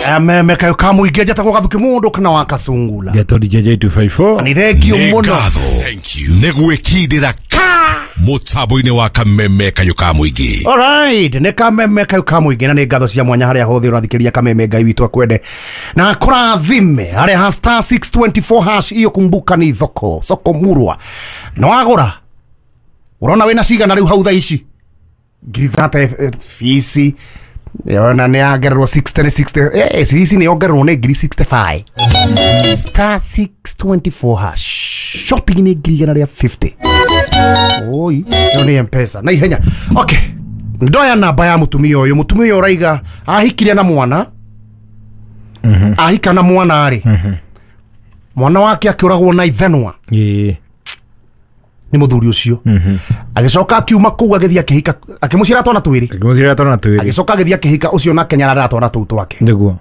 Kameme kayo ka mũingĩ, njĩtagwo Gathuki mũndũ kana wa Kasungula. Ngetwo DJ J254. Nĩ thengio Nĩ mũno. ngatho nĩ gwĩkindĩra ka mũtambo-inĩ wa Kameme kayũ ka mũingĩ. Alright, nĩ Kameme kayo ka mũingĩ, na nĩ ngatho cia mwanya harĩa hothe ũrathikĩrĩria Kameme. Ngai witũ akwende na akũrathime. Harĩa ha star 624 hash, iyo kumbuka ni thoko soko murwa na wagũra ũrona wĩna cigana rĩu hau thaa ici? 30,000 fici ona nĩ yangererwo 60 nĩ 60, fici nĩ yongererwo nĩ ngiri 65. Star 624 hash, shopping nĩ 150,000. Oi, ĩyo nĩ Mpesa na ihenya. Okay, ndoya namba ya mutumia ũyũ. Mutumia ũyũ ũraiga ahikire na mwana, ahika na mwana rĩ, mwana wake akĩũragwo na ithenwa nĩ mũthuri ũcio. Agĩcoka akiuma kũu, agĩthiĩ akĩhika, akĩmũciara twana twĩrĩ. Akĩmũciara twana twĩrĩ. Agĩcoka agĩthiĩ akĩhika ũcio, nake nyarara twana tũu twake. Nĩguo.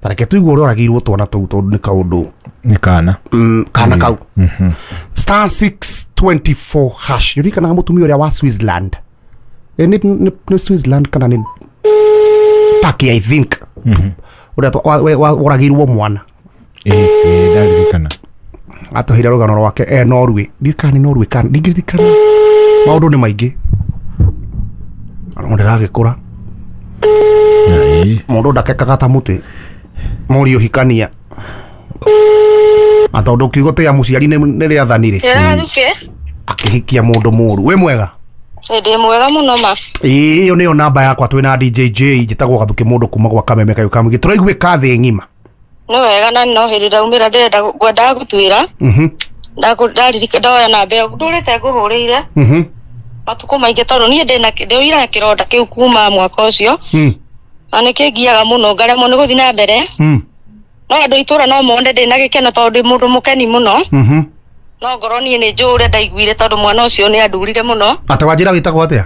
Tareke tũigue ũrĩa oragĩirwo twana tũu, tondũ nĩ kaũndũ. Nĩ kana. Kana kau. Star 624 hash. Nĩũririkanaga mũtumia ũrĩa wa Switzerland? Nĩ Switzerland kana nĩ Turkey, I think, ũrĩa woragĩirwo mwana? Ĩĩ, ndaririkana. Atũheire rũgano rwake e Norway. Ndiũĩ kana nĩ Norway kana ndingĩririkana, maũndũ nĩ maingĩ no ndĩragĩkũra. Mũndũ ndakekaga ta mũtĩ mũriũ hikania, na tondũ kiugo tĩa mũciari nĩ rĩathani rĩ. Ndĩrathukĩ. Akĩhikia mũndũ mũru. Wĩ mwega? Ndĩ mwega mũno ma. Ĩĩ, ĩyo nĩyo namba yakwa. Twĩna DJ J, njĩtagwo Gathuki mũndũ kuma gwa Kameme kayũ kamũingĩ. Tũraiguĩka thĩ ng'ima. Nĩ wega, na no hĩndĩ ndaumĩra ndĩrenda ngwendaga gũtuĩra. Ndaririka ndoya namba ĩyo ndũrĩte ngũhũrĩire matukũ maingĩ, tondũ niĩ ndĩna ndĩũire na kĩronda kĩu kuma mwaka ũcio, na nĩ kĩngiaga mũno ngaremwo nĩ gũthiĩ na mbere. No andũ a itũra no mone ndĩna gĩkeno, tondũ ndĩ mũndũ mũkeni mũno, no ngorwo niĩ nĩ njũĩ ũrĩa ndaiguire, tondũ mwana ũcio nĩ andurire mũno. Atĩ wanjĩra wĩtagwo atĩa?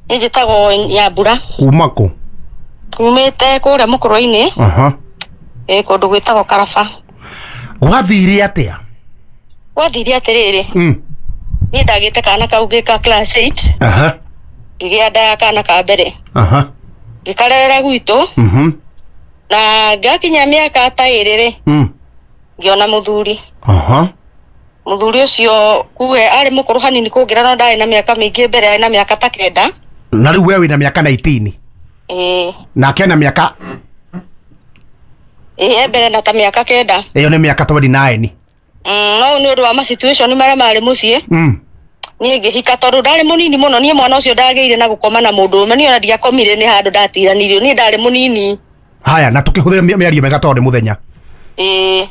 Niĩ njĩtagwo Nyambura. Kuma kũ? Kumĩte kũrĩa mũkũrwe-inĩ. Ĩ, kũndũ gwĩtagwo Karaba. Gwathire atĩa? Gwathire atĩrĩrĩ, niĩ ndagĩte kana kau ngĩka class 8. Ngĩgĩa nda ya kana ka mbere. Ngĩkarerera gwitũ, na ngakinya mĩaka ta 2 rĩ, ngĩona mũthuri. Mũthuri ũcio kuge arĩ mũkũrũ hanini kũngĩra, no ndarĩ na mĩaka mĩingĩ mbere, arĩ na mĩaka ta 9. Na rĩu we wĩna mĩaka 19? Ĩĩ. Nake na mĩaka? Ĩĩ, e mbere na ta mĩaka 9. Ĩyo nĩ mĩaka 29. No nĩ ũndũ wa ma situation marĩa marĩ mũciĩ, niĩ ngĩhika tondũ ndarĩ mũnini mũno. Niĩ mwana ũcio ndagĩire na gũkoma na mũndũ ũmwe, niĩ ona ndiakomire, nĩ handũ ndatiranĩirio, niĩ ndarĩ mũnini. Haya, na tũkĩhũthĩra mĩario mĩega tondũ nĩ mũthenya. Ĩĩ.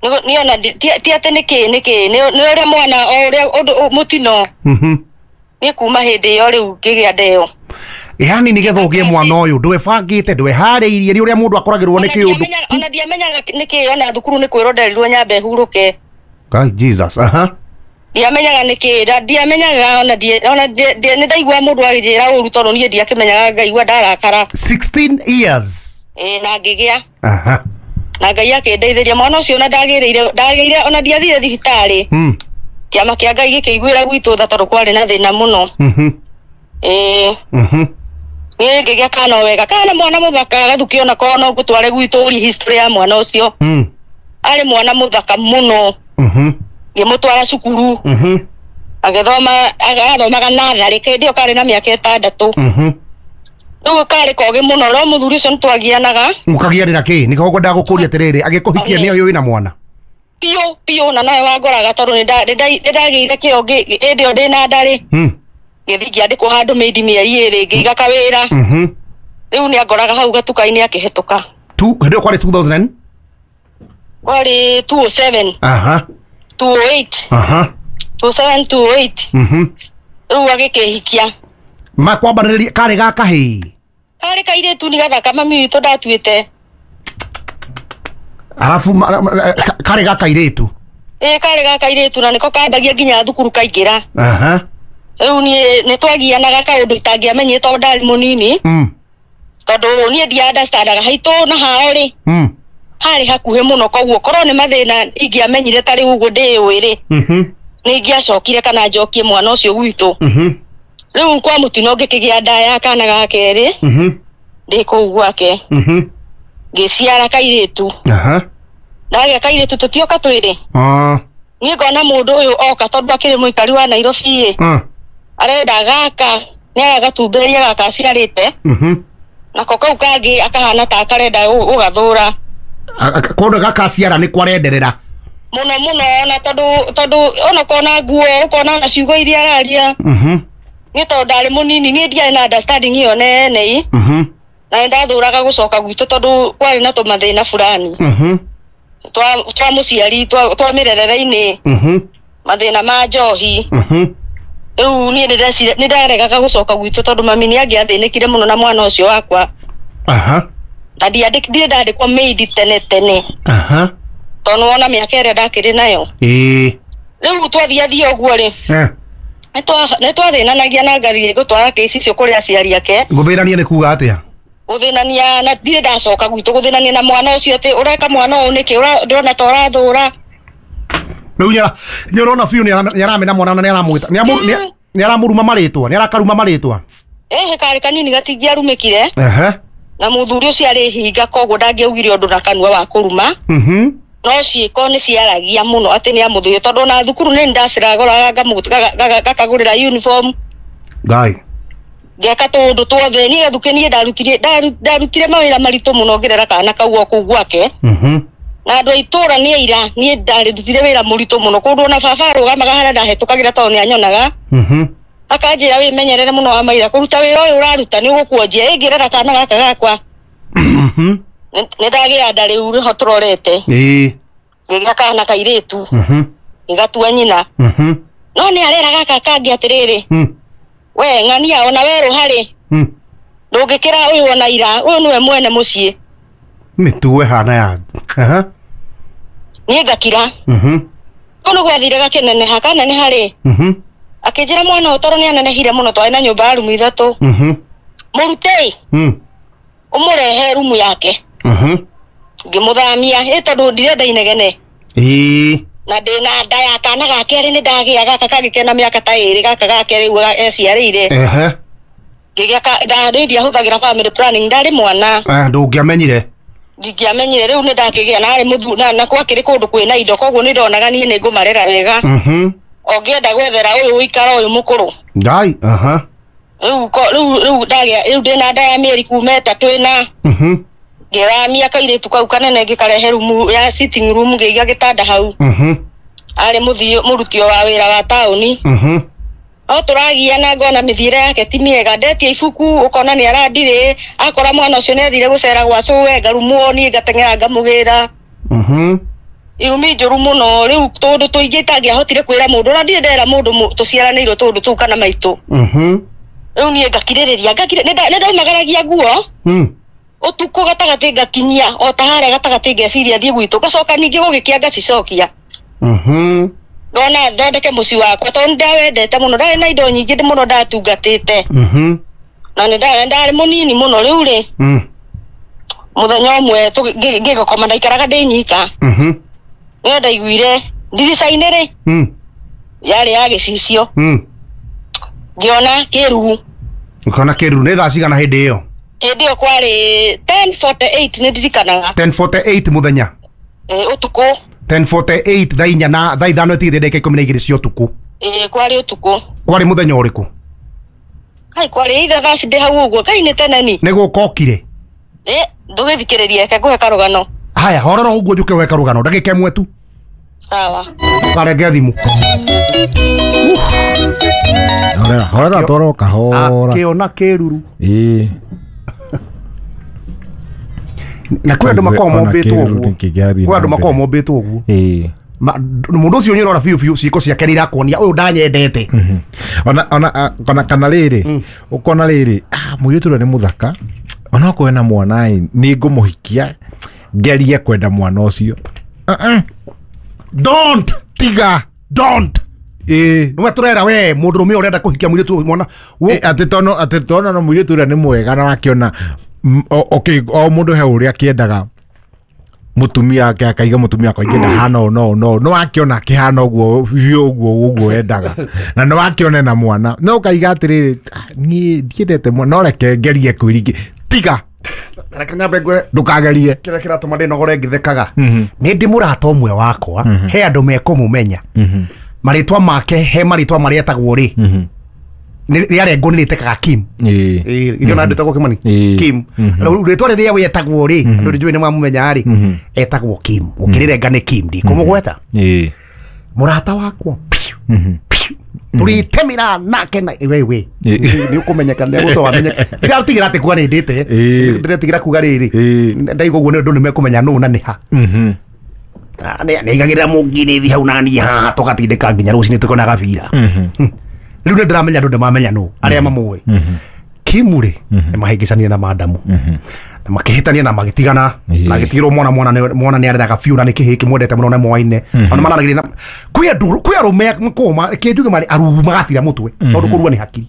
Niĩ ona ti atĩ nĩkĩ nĩkĩ, nĩ ũrĩa mwana o ũrĩa ũndũ mũtino. Niĩ kuma hĩndĩ ĩyo rĩu ngĩgĩa nda ĩyo. Yani nĩgetha ũgĩe mwana ũyũ, ndwebangĩte, ndweharĩirie, nĩ ũrĩa mũndũ akoragĩrwo nĩ kĩũndũ. Ona ndiamenyaga nĩkĩ, ona thukuru nĩ kwĩrwo nderirwo nyambe hurũke. Ngai, Jesus. Ndiamenyaga nĩkĩ, ndiamenyaga ona nĩ ndaigua mũndũ agĩnjĩra ũru, tondũ niĩ ndiakĩmenyaga, ngaigua ndarakara. 16 years. Ĩĩ, na ngĩgĩa, na Ngai akĩndeithĩria mwana ũcio, ona ndagĩrĩire ndagĩire, ona ndiathire thibitarĩ. Kĩama kĩa Ngai gĩkĩiguĩra gwitũ tha, tondũ kwarĩ na thĩna mũno. Ĩĩ. Niĩ ngĩgĩa kana o wega, kana mwana mũthaka Gathuki, ona korwo no ngũtware gwitũ ũrie history ya mwana ũcio. Arĩ mwana mũthaka mũno. Ngĩmũtwara cukuru, agĩthoma, athomaga natharĩ hĩndĩ ĩyo karĩ na mĩaka 6. Rĩu karĩ kogĩ mũno, no mũthuri ũcio nĩtwagianaga. Mũkagianĩra kĩ? Nĩho ngwendaga gũkũria atĩrĩrĩ, agĩkũhikia nĩoĩ wĩna mwana? Biũ biũ, na nowe wangoraga, tondũ nĩndagĩire kĩo hĩndĩ ĩyo ndĩna ndarĩ. Ngĩthiĩ ngĩandĩkwo handũ mĩindi mĩeri 2, ngĩiga kawĩra. Rĩu nĩangoraga hau gatuka-inĩ akĩhĩtũka. Tu hĩndĩ ĩyo kwarĩ 2000 and? Kwarĩ 207. 208. 27, 208. Rĩu agĩkĩhikia. Makwambanĩrĩria karĩ ga kahĩĩ? Karĩ kairĩtu, nĩ gathaka, mami witũ ndatuĩte. Arabu karĩ ga kairĩtu? Ĩĩ, karĩ ga kairĩtu, na nĩko kambagia nginya thukuru kaingĩra. Rĩu niĩ nĩ twagianaga kaũndũ itangĩamenyire tondũ ndarĩ mũnini. Tondũ niĩ ndia understandaga haitũ na hao rĩ, harĩ hakuhĩ mũno, koguo korwo nĩ mathĩna ingĩamenyire ta rĩu ũguo ndĩũĩ rĩ, nĩ ingĩacokire kana njokie mwana ũcio gwitũ. Rĩu kwa mũtino ngĩkĩgĩa nda ya kana ga kerĩ. Ndĩ kũu gwake. Ngĩciara kairĩtu. Ndagĩa kairĩtu tũtioka twĩrĩ. Niĩ ngona mũndũ ũyũ oka tondũ akĩrĩ mũikari wa Nairobi ĩ. Arenda gaka nĩ aragatumberia gaka aciarĩte. Nako kau kangĩ akahana ta akarenda gũgathũra. Kũndũ gaka aciara nĩ kwarenderera. Mũno mũno na tondũ ona kona nguo ũkona na ciugo iria araria. Niĩ tondũ ndarĩ mũnini niĩ ndiarĩ na understanding ĩyo nene. Na nĩ ndathũraga gũcoka gwitũ tondũ kwarĩ na tũmathĩna fulani. Twa mũciari twa mĩrerere-inĩ. Mathĩna ma njohi. Rĩu niĩ nĩ ndaregaga gũcoka gwitũ tondũ mami nĩ angĩathĩnĩkire mũno na mwana ũcio wakwa. Na ndirĩ ndandĩkwo maid tene tene. Tondũ wona mĩaka ĩrĩa ndakĩrĩ nayo. Rĩu twathiathia ũguo rĩ. Nĩ twathĩnanagia na ngathiĩ gũtwara kĩci icio kũrĩ aciari ake. Gũthĩnania nĩ kuga atĩa? Gũthĩnania na ndirĩ ndacoka gwitũ gũthĩnania na mwana ũcio atĩ ũreka mwana ũyũ nĩkĩ ndĩrona ta ũrathũra. Rĩu nĩ ũrona biũ nĩ aramena mwana na nĩ aramwĩta. Nĩ aramũruma marĩtwa, nĩ arakaruma marĩtwa. Karĩ kanini gatingĩarumĩkire. Na mũthuri ũcio arĩ hinga koguo ndangĩaugire ũndũ na kanua wa kũruma. No ciĩko nĩ ciaragia mũno atĩ nĩ amũthũire tondũ ona thukuru nĩ ndaciragũraga ngakagũrĩra uniform. Ngai. Ngeka tũũndũ tuothe niĩ gathukĩ niĩ ndarutire mawĩra maritũ mũno ngĩrera kana kau o kũu gwake. Na andũ a itũũra nĩ aira niĩ ndarutire wĩra mũritũ mũno kũndũ ona baba arũgamaga harĩa ndahĩtũkagĩra tondũ nĩ anyonaga. Akanjĩra wĩmenyerere mũno wa maira kũruta wĩra ũyũ ũraruta nĩ ũgũkuonjia ĩngĩrera kana gaka gakwa. Nĩ ndagĩa nda rĩu nĩho tũrorete. Ngĩgĩa kana kairĩtu. Ngĩgatua nyina. No nĩ arera gaka kangĩ atĩrĩrĩ. We ng'ania ona werũ harĩ. Ndũngĩkĩra ũyũ ona ira ũyũ nĩwe mwene mũciĩ. Mĩtuo ĩhana ya. Niĩ ngakira. Kũu nĩ gwathire gakĩneneha kaneneha rĩ. Akĩnjĩra mwana ũyũ tondũ nĩ anenehire mũno twarĩ na nyũmba ya rumu ithatũ. Mũrutei. Ũmũrehe rumu yake. Ngĩmũthamia ĩ tondũ ndirenda inegene. Na ndĩna nda ya kana ga kerĩ nĩ ndagĩa gaka kangĩ kena mĩaka ta ĩrĩ gaka ga kerĩ rĩu eciarĩire. Ngĩgĩa ndarĩ ndiahũthagĩra family planning ndarĩ mwana. Ndũngĩamenyire. Ndingĩamenyire rĩu nĩ ndakĩgĩa na arĩ mũthuri na gwakĩrĩ kũndũ kwĩna indo koguo nĩ ndonaga niĩ nĩ ngũmarera wega. Ũngĩenda gwethera ũyũ ũikara ũyũ mũkũrũ. Ngai. Rĩu rĩu ndagĩa rĩu ndĩna nda ya mĩeri kuma ĩtatũ ĩna. Ngĩthamia kairĩtu kau kanene ngĩkarehe rumu ya sitting room ngĩiga gĩtanda hau. Arĩ mũrutio wa wĩra wa taũni. No tũragiana ngona mĩthiĩre yake ti mĩega ndetia ibuku ũkona nĩ arandirĩ akora mwana ũcio nĩ athire gũcera gwa cũwe ngarumwo niĩ ngateng'era ngamũgĩra. Irumi njũru mũno rĩu tũndũ tũingĩ itangĩahotire kwĩra mũndũ ona ndirĩ ndera mũndũ tũciaranĩirwo tũndũ tũu kana maitũ. Rĩu niĩ ngakirĩrĩria nĩ ndaumagaragia nguo. Ũtukũ gatagatĩ ngakinyia o ta harĩa gatagatĩ ngeciria thiĩ gwitũ ngacoka ningĩ gũgĩkĩa ngacicokia. Ndona thondeke mũciĩ wakwa tondũ ndawendete mũno ndarĩ na indo nyingĩ mũno ndatungatĩte. Na nĩ ndarĩ mũnini mũno rĩu rĩ. Mũthenya ũmwe ngĩgakoma ndaikaraga ndĩ nyika. Nĩ ndaiguire ndirica-inĩ rĩ. Yarĩ ya gĩcicio. Ngĩona kĩruru. Ũkĩona kĩruru nĩ thaa cigana hĩndĩ ĩyo? Hĩndĩ ĩyo kwarĩ 10:48 nĩ ndirikanaga. 10:48 mũthenya? Ũtukũ. 10:48 thaa inya na thaa ithano ĩtigĩte ndagĩka ikũmi na igĩrĩ cia ũtukũ. Kwarĩ ũtukũ. Kwarĩ mũthenya ũrĩkũ? Kai kwarĩ itha thaa cindĩ hau ũguo kai nĩ tene ni. Nĩ gũka ũkire? Ndũgĩthikĩrĩrie reke ngũhe karũgano. Haya horora ũguo njũke ũhe karũgano ndagĩka ĩmwe tu. Sawa. Karenge thimũ. Horera twara kahora. Akĩona kĩruru. Na kwĩ andũ makoragwo mombĩtwo ũguo. Kwĩ andũ makoragwo mombĩtwo ũguo. Mũndũ ũcio nĩ ũrona biũ biũ ciĩko ciake nĩ irakuonia ũyũ ndanyendete. Ona kana rĩrĩ ũkona rĩrĩ mũirĩtu ũrĩa nĩ mũthaka ona okorwo ena mwana ĩ nĩ ngũmũhikia ngerie kwenda mwana ũcio. Don't tiga don't. Nĩwe tũrera we mũndũrũme ũrenda kũhikia mũirĩtu mwana. Atĩ tondũ no mũirĩtu ũrĩa nĩ mwega na wakĩona okay o mũndũ he ũrĩa akĩendaga mutumia ake akaiga mutumia akwa ingĩenda hana ũũ no no no akiona akĩhana ũguo biũ ũguo ũguo endaga na no akione na mwana no ũkaiga atĩrĩrĩ niĩ ndiendete mwana no reke ngerie kwĩringi tiga Reke nyambe ngwĩre Ndũkagerie. Kĩrĩa kĩratũma ndĩnogore ngĩthekaga nĩ ndĩ mũrata ũmwe wakwa, he andũ mekũmũmenya marĩtwa make, he marĩtwa marĩa etagwo rĩ, rĩarengwo nĩ rĩtekaga Kim. Ithuĩ ona ndĩtagwo Kimani. Kim. Rĩu rĩtwa rĩrĩa wetagwo rĩ, andũ nĩ njũĩ nĩ mamũmenya rĩ, etagwo Kim, ũkĩrĩrenga nĩ Kim, ndikũmũgweta. Mũrata wakwa piu piu tũrĩtemĩra nake na we we nĩ ũkũmenyeka, nĩ ũgũtũma wamenyeke. Ndĩratigĩra atĩ kuga nĩ ndĩte, ndĩretigĩra kuga rĩrĩ, ndaigua ũguo nĩ ũndũ nĩ mekũmenya nũ na nĩ ha. Nĩ aigagĩrĩra mũngirĩthi hau na niĩ haha tũgatindĩka nginya rũcinĩ tũkonaga bira. Rĩu nĩ ndĩramenya andũ ndĩmamenya nũ arĩa mamũĩ Kimu rĩ, nĩ mahĩngĩcanire na madamu na makĩhĩtania na magĩtigana na agĩtigĩrwo mwana, mwana nĩ areraga biũ na nĩ kĩhĩĩ kĩmwendete mũno na moaine ona maranagĩria na kwĩ andũ, kwĩ arũme kũma kĩnjuge marĩ aruu magathira mũtwe tondũ kũrua nĩ hakiri.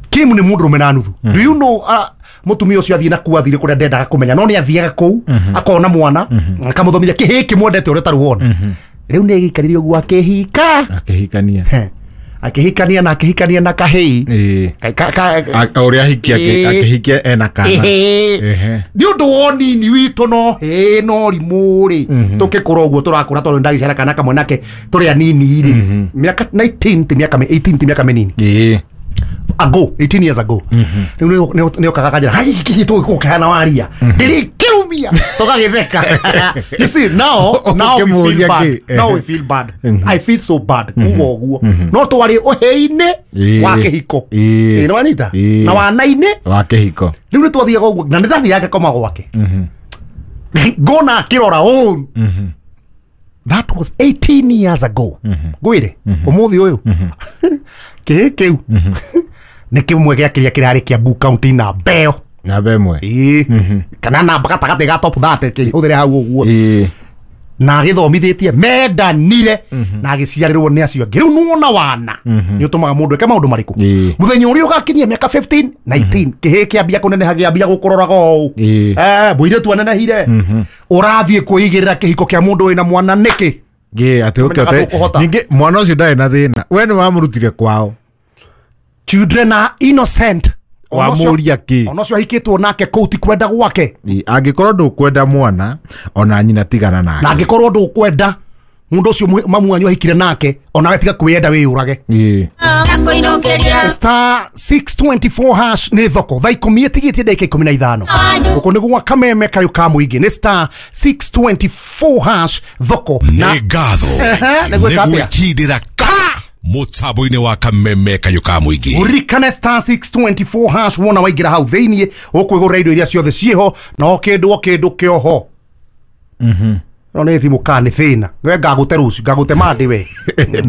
Kim nĩ mũndũrũme na nuthu. Do you know, mũtumia ũcio athiĩ na kuo, athire kũrĩa ndendaga kũmenya, no nĩ athiaga kũu akona mwana akamũthomithia kĩhĩĩ kĩmwendete ũrĩa ũtarĩ wona. Rĩu nĩ gĩikarire ũguo akĩhika. Akĩhikania. He. Akĩhikania na akĩhikania na kahĩĩ. Ũrĩa ahikia akĩhikia ena kana. Nĩ ũndũ wa ũnini witũ no hĩ no rimũ rĩ, tũkĩkũra ũguo tũrakũra tondũ ndagĩciara kana kamwe nake tũrĩ anini rĩ, mĩaka 19 ti mĩaka 18 ti mĩaka mĩnini ago, 18 years ago. Rĩu nĩ okaga kanjĩra hai kĩhĩ tũgĩkũkĩhana waria ndĩrĩkĩrumia tũgagĩtheka. You see, now we feel Ũkĩmũũria bad. kĩ? Now we feel bad. I feel so bad kuga ũguo, no twarĩ ũhĩinĩ wa kĩhiko. Ĩĩ, nĩ wanyita na wana-inĩ wa kĩhiko. Rĩu nĩ twathiaga ũguo na nĩ ndathiaga ngakoma gwake ngona akĩrora ũru. That was 18 years ago. Ngwĩre ũmũthĩ ũyũ kĩhĩ kĩu nĩ kĩmwe gĩa kĩrĩa kĩrarĩ Kiambu County na mbeo. Namba ĩmwe. Ĩĩ, kana namba gatagatĩ ga top 30 kĩhũthĩre hau ũguo. Na agĩthomithĩtie mendanire na agĩciarĩrwo nĩ acio angĩ. Rĩu nĩwona wana nĩ ũtũmaga mũndũ eke maũndũ marĩkũ. Mũthenya ũrĩa ũgakinyia mĩaka 15 19, kĩhĩ kĩambia kũneneha, kĩambia gũkũroraga ũũ. Mũirĩtu anenehire, ũrathiĩ kwĩigĩrĩra kĩhiko kĩa mũndũ wĩna mwana nĩkĩ? Gĩ atĩ ũke Ũmenyaga ndũkũhota. Ningĩ mwana ũcio ndarĩ na thĩna, we nĩ wamũrutire kwao. Children are innocent. Wamũria kĩ? Ona ũcio ahikĩtwo nake kũu ti kwenda gwake. Angĩkorwo ndũkwenda mwana ona nyina tigana Na nake. angĩkorwo ndũkwenda mũndũ ũcio mamu wanyu ahikire nake, onawe tiga kwĩyenda wĩyũrage. Star 624 hash nĩ thoko thaa ikũmi ĩtigĩtie ndagĩka 15. Gũkũ nĩ gwa kameme kayũ ka mũingĩ, nĩ star 624 hash thoko na Nĩ ngatho Ehe, nĩ gwĩka nĩ atĩa? gwĩkindĩra ka mũtambo-inĩ wa kameme kayũ ka mũingĩ. Ũririkane star 624 hash wona waingĩra hau thĩiniĩ ũkwĩgũrĩra indo iria ciothe ciĩho na o kĩndũ o kĩndũ kĩoho. No nĩ thimũ kana nĩ thĩna we, ngagũte rũciũ, ngagũte Monday we.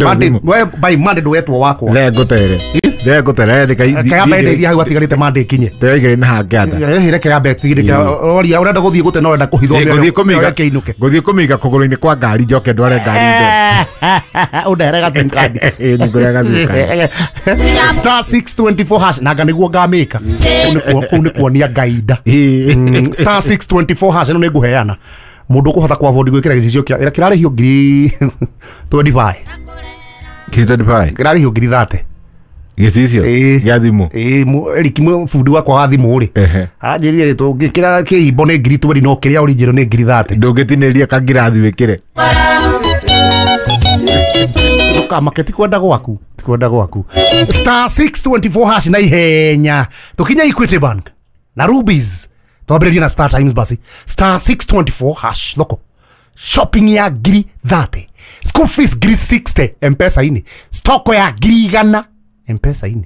Monday thimũ. we, by Monday ndũgetwo wakwa. Reke ngũtere. Reke yambe ndeithie hau atigarĩte Monday ikinye. Ndĩraigĩrĩ na hangĩ ata. Reke yambe tigĩrĩke oria ũrenda gũthiĩ gũte na ũrenda kũhithwo. Ngũthiĩ kũmĩiga kĩinũke. Ngũthiĩ kũmĩiga kũgũrũ-inĩ kwa ngari njoke ndware ngari ndere. Ũndehere ga sim card. Ĩĩ, nĩngũrehe ga sim card. Star 624 hash nanga nĩguo ngamĩka. Kũu nĩ kuonia ngainda. Star 624 hash ĩno nĩ ngũheana mũndũ ũkũhota kwa afford gwĩkĩra gĩcicio kĩa kĩrarĩhio ngiri 25. Kĩ 25? Kĩrarĩhio ngiri 30. Gĩcicio Ĩĩ. gĩa thimũ. Ĩĩ, Eric bundi wakwa wa thimũ rĩ, aranjĩrire tũngĩkĩra kĩimbo nĩ ngiri 20 no kĩrĩa original nĩ ngiri 30. Ndũngĩtinĩria kangirathi wĩkĩre. Ndũkamake, ti kwenda gwaku, ti kwenda gwaku. Star 624 hash na ihenya tũkinye Equity Bank na Rubies, twambĩrĩrie na Star Times basi. Star 624 hash thoko shopping ya ngiri 30, school fees ngiri 60 mpesa-inĩ, stoko ya ngiri igana mpesa-inĩ.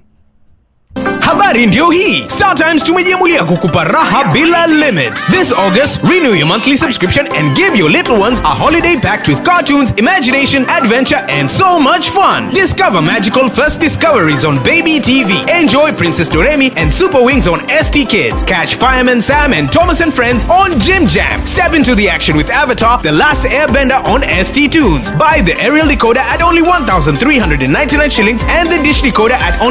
Habari ndio hii. Star Times tumejiamulia kukupa raha bila limit. This August, renew your monthly subscription and give your little ones a holiday packed with cartoons, imagination, adventure and so much fun. Discover magical first discoveries on Baby TV. Enjoy Princess Doremi and Super Wings on ST Kids. Catch Fireman Sam and Thomas and Friends on Jim Jam. Step into the action with Avatar, The Last Airbender on ST Tunes. Buy the aerial decoder at only 1,399 shillings and the dish decoder at only